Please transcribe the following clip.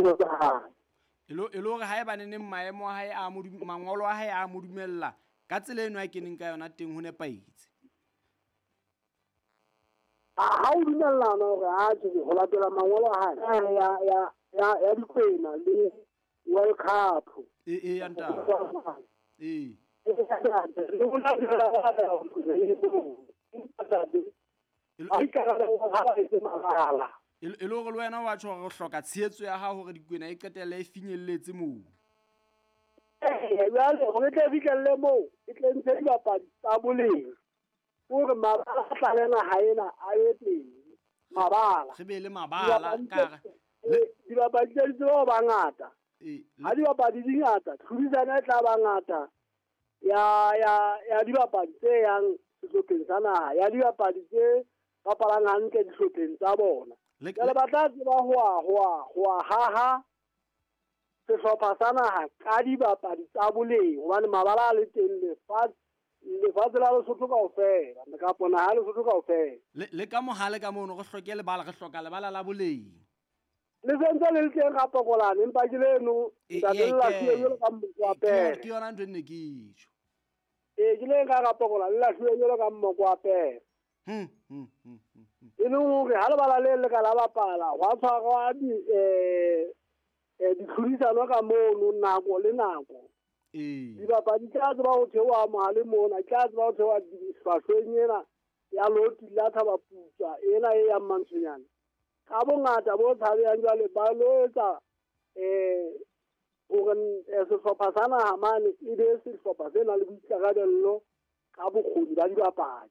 ditsebo tsa hae. E le hore haebaneneng maemo a hae a mangolo a hae a mo dumella ka tsela eno a keneng ka yona teng ho nepahetse. Ha o dumellana hore a tje ho latela mangolo a hae ya dikwena le World Cup. E ya ntate. E. E le hore le wena wa tjho hore o hloka tshehetso ya hao hore dikwena e qetelle e finyelletse moo. Jwale hore tle fihlelle moo, e tle ntshe dibapadi tsa boleng. Hore mabala a tlale naha ena a ye teng. Mabala. Re be le mabala ka dibapadi tse di tseba ho ba ngata. Ha dibapadi di ngata, tlhodisano e tla ba ngata ya dibapadi tse yang sehlopheng sa naha, ya dibapadi tse bapalang hantle dihlopheng tsa bona. Jwale ba tla tseba ho haha sehlopha sa naha ka dibapadi tsa boleng, hobane mabala a le teng lefatshe la Lesotho kaofela, kapa naha ya Lesotho kaofela. Le ka mohale ka mono re hloke lebala, re hloka lebala la boleng. Le sentse le le teng Rapokolane, empa ke leno ntate le lahluwe jwalo ka mmoko wa pere. Ke yona ntho e ne ke tjho. Ee, ke le ka Rapokolane le lahluwe jwalo ka mmoko wa pere. E leng hore ha lebala le le ka la bapala, hwa tshwarwa ditlhodisano ka mono nako le nako. Dibapadi tla tseba ho theoha mohale mona, tla tseba ho theoha hlwahlweng ena ya loti la Thabaputswa ena e yang Mantshonyane. Ka bongata bo tshabehang jwale ba lo etsa hore sehlopha sa naha mane e be sehlopha se nang le boikarabello ka bokgoni ba dibapadi.